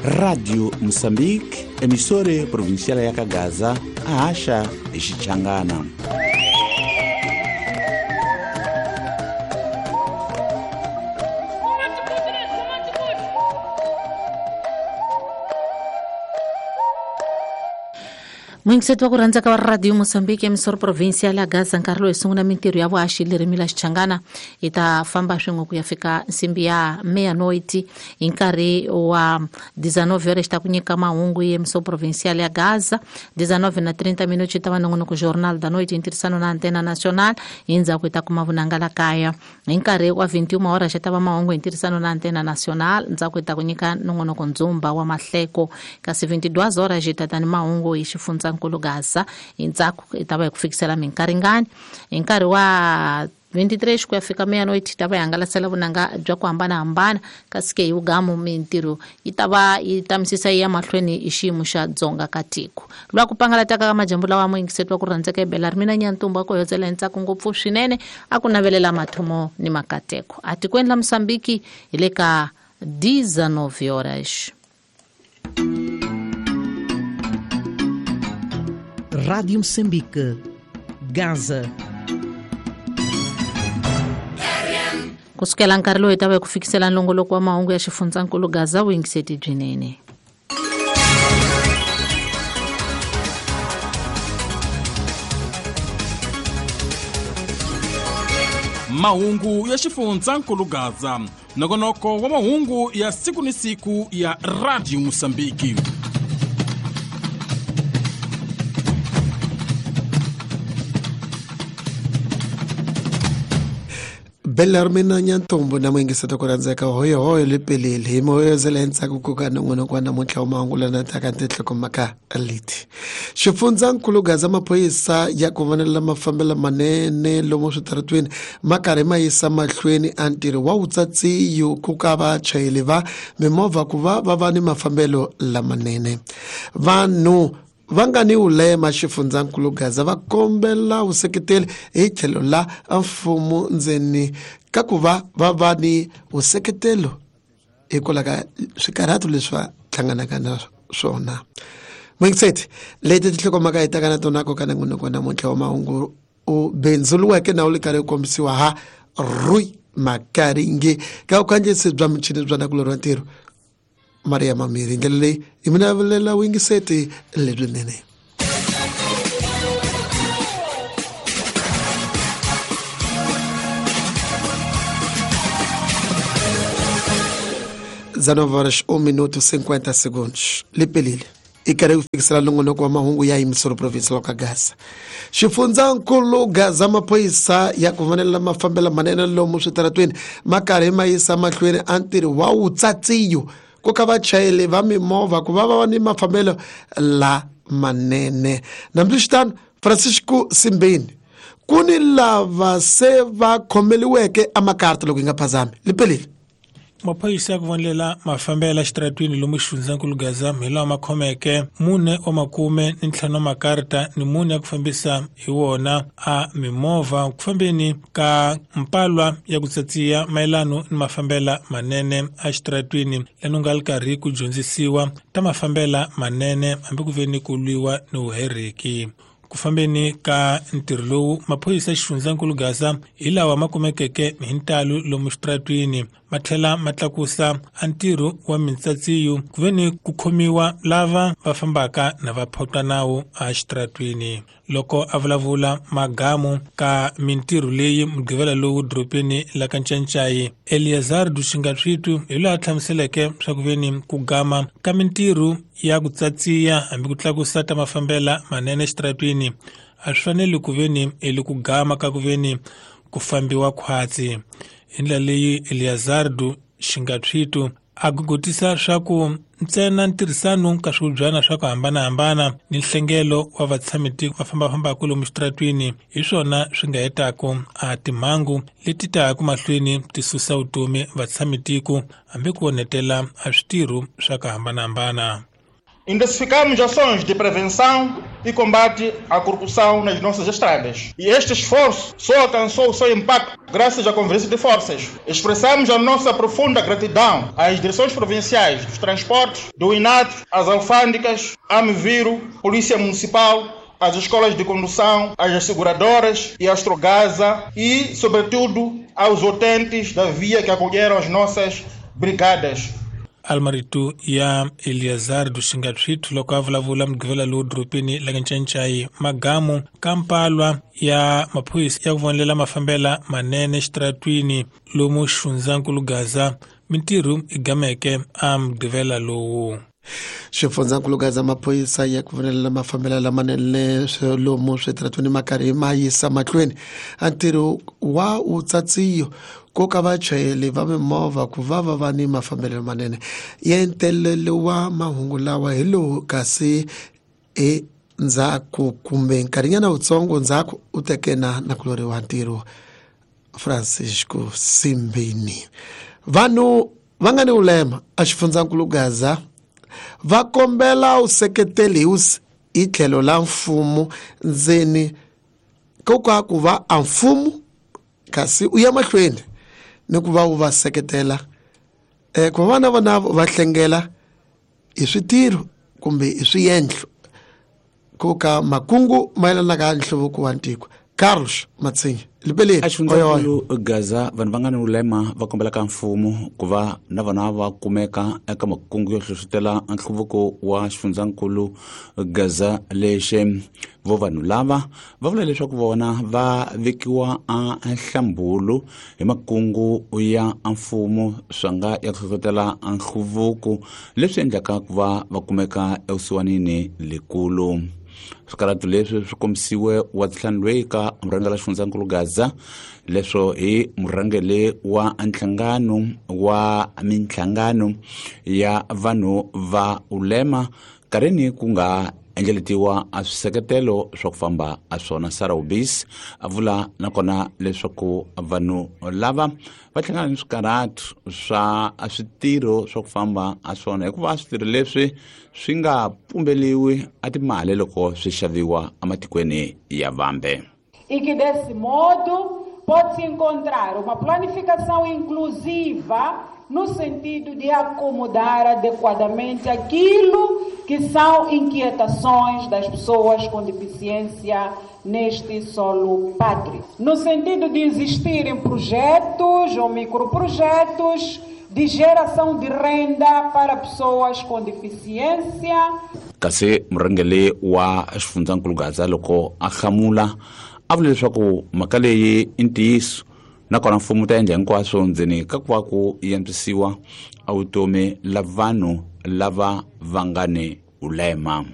Rádio Moçambique, emissora provincial ya Kagaza, a Acha e Xichangana. Muyingiseti wa ku rhandza ka va Radio Mozambique, emisoro provincial ya Gaza, nkarhi lowu hi sungula mintirho ya vuhaxi ririmi la Xichangana. Hi ta famba swin'we ku ya fika nsimbi ya meia-noite hi nkarhi wa 19 horas ta ku nyika mahungu ya emisoro provincial ya Gaza. 19 na 30 minutos ta va nongonoko Jornal da Noite, ntirhisano na Antena Nacional. Hi ndzhaku hi ta kuma vunanga la kaya. Hi nkarhi wa 21 horas ta va mahungu hi ntirhisano na Antena Nacional. Ndzhaku hi ta ku nyika nongonoko Ndzumba wa Mahleko. Kasi 22 horas hi ta ta ni mahungu hi xifundza nkulu Gaza. Hi ndzhaku hi ta va hi ku fikisela minkaringani. Hi nkarhi wa 23 ku ya fika meia-noite ta va hi hangalasela vunanga bya ku hambanahambana. Kasi ke hi vugamu mintirho yi ta va yi tamisisa yi ya mahlweni hi xiyimo xa dzonga ka tiko. Lwa ku pangalataka ka majambu lawa muyingiseti wa ku rhandzeka hi Bela Rimina Nyantumbu a ku hoyozela hi ntsako ngopfu swinene, a ku navelela mathomo ni makateko. A tikweni la Mozambique hi le ka 19 horas. Rádio Moçambique, Gaza. Kusukela nkarhi lowu hi ta va hi ku fikisela nongoloko wa mahungu ya xifundzankulu Gaza, vuyingiseti byinene. Mahungu ya xifundzankulu Gaza, nongonoko wa mahungu ya siku ni siku ya Radio Mozambique. Bellarmina Nyantombo na muyingiseti ku rhandzeka hoyohoyo lepeleli hi moyozela endzhaku ku ka nongonoko wa namuntlha wa mahungu lana taka tinhlokomhaka leti. Xifundzankulu Gaza, maphorisa ya ku vonela mafambelo manene lomu switaratweni ma karhi ma yisa mahlweni a ntirho wa vutsatsiyo ku ka vachayeri va mimovha ku va va va ni mafambelo lamanene. Vanhu va nga ni vulema xifundzankulu Gaza va kombela vuseketeli hi tlhelo la mfumo ndzeni ka ku va va va ni vuseketelo hikwalaho ka swikarhato leswi va hlanganaka na swona. Muyingiseti, leti tinhlokomhaka hi taka na tona ko ka nongonoko wa namuntlha wa mahungu u bindzuriweke na wu le karhi wu kombisiwa ha Rui Makaringe ka vukhandziyisi bya michini bya nakulorhi wa ntirho Maria Mamiri. Ndlela leyi hi mi navelela vuyingiseti lebyinene. Dezenove horas, 1 minuto 50 segundos. Lipelile. I karhi ku fikisela nongonoko wa mahungu ya yimisoro provincial ka Gaza. Xifundzankulu Gaza, maphorisa ya ku vonela mafambelo manene lomu switaratweni ma karhi ma yisa mahlweni a ntirho wa vutsatsiyo ku ka vachayeri va mimovha ku va va ni mafambelo lamanene. Nambiswitano, Francisco Simbeni, ku ni lava se va khomeliweke amakarta loko yi nga phazami. Lipelile. Maphorisa ya ku vonela mafambelo ya xitaratwini lomu xifundzankulu Gaza hi lawa ma khomeke 4 wa 45 makarta ni 4 ya ku fambisa hi wona a mimovha ku fambeni ka mpalwa ya ku tsatsiya mayelano ni mafambela manene a xitaratwini lanu nga li karhi ku dyondzisiwa ta mafambela manene hambi ku veni ku lwiwa ni vuheriki. Ku fambeni ka ntirho lowu maphorisa ya xifundzankulu Gaza hi lawa ma kumekeke hi ntalo lomu xitaratwini ma tlhela ma tlakusa a ntirho wa mintsatsiyo ku veni ku khomiwa lava va fambaka na va photwa nawu a xitaratwini. Loko a vulavula magamu ka mintirho leyi mugqivela lowu dorobeni la ka Ncancai Eleazar Dushingatswitu hi loyi a hlamuseleke swa ku veni ku gama ka mintirho ya ku tsatsiya hambi ku tlakusa ta mafambela manene xitaratwini a swi faneli ku veni eli ku gama ka ku veni ku fambiwa khwatsi. Hi ndlela leyi Eleazar Dushingatswitu a gugutisa swa ku ntsena ntirhisano ka swivubyana swa ku hambanahambana ni nhlengelo wa vatshamitiko va fambafambaka lomu xitaratwini hi swona swi nga hetaka a timhangu leti taka mahlweni ti susa vutomi vatshamitiko hambi ku onhetela a switirho swa ku hambanahambana. Intensificamos ações de prevenção e combate à corrupção nas nossas estradas. E este esforço só alcançou o seu impacto graças à convergência de forças. Expressamos a nossa profunda gratidão às direções provinciais dos transportes, do INAT, às alfândegas, à Miviro, Polícia Municipal, às escolas de condução, às seguradoras e à Astrogasa e, sobretudo, aos utentes da via que acolheram as nossas brigadas. Almaritu ya Eliazar Dushingatshwitu loko a vulavula mugqivela lowu doropeni la Ncancai Magamu kampalwa ya maphorisa ya ku vonelela mafambela manene xitaratwini lomu xifundzankulu Gaza mintirho i gameke a mugqivela lowu. Xifundzankulu Gaza maphorisa ya ku vonelela mafambela lamanene lomu switaratwini ma karhi ma yisa mahlweni a ntirho wa utsatsiyo koka vachayeri va mimovha ku va va va ni mafambelo manene. Yentelelo wa mahungu lawa hi lowu kasi endzhaku kumbe nkarhinyana wutsongo ndzhaku u teke na nakulori wa ntirho Francisco Simbini. Vanhu va nga ni ulema a xifundzankulu Gaza va kombela useketeli hi tlhelo la mfumo ndzeni koka ku va a mfumo kasi u ya mahlweni ni ku va wu va seketela ku va na vona va hlengela hi switirho kumbe hi swiendlo ku ka makungu mayelana ka nhluvuko wa ntiko. Carlos Matsinha libeleni axifundzankulu Gaza vanhu va nga ni ulema va kombela ka mfumo ku va na vona va kumeka eka makungu yo hlohlotela nhluvuko wa xifundzankulu Gaza lexe. Vo vanhu lava va vula leswaku vona va vekiwa a nhlambulu hi makungu ya mfumo swa nga ya ku hlohlotela nhluvuko leswi endlaka ku va va kumeka evusiwanini lekulu. Swikarhatu leswi swi kombisiwe wa ntlhanu loyi ka murhangeri wa xifundzankulu Gaza leswo hi murhangeri wa nhlangano wa minhlangano ya vanhu va ulema karhini ku nga endleletiwa a swiseketelo swa ku famba a swona. Sarah Ubis a vula nakona leswaku vanhu lava va hlangana ni swikarhatu swa switirho swa ku famba a swona hikuva switirho leswi swi nga pumbeliwi a timali loko swi xaviwa ematikweni ya vambe. E que desse modo pode-se encontrar uma planificação inclusiva no sentido de acomodar adequadamente aquilo que são inquietações das pessoas com deficiência neste solo pátrio. No sentido de existirem projetos ou microprojetos de geração de renda para pessoas com deficiência. Kasi murhangeri wa xifundzankulu Gaza loko a hlamula a vula leswaku mhaka leyi i ntiyiso nakona mfumo ta endla hinkwaswo ndzeni ka ku va ku antswisiwa a vutomi la vanhu lava va nga ni ulema.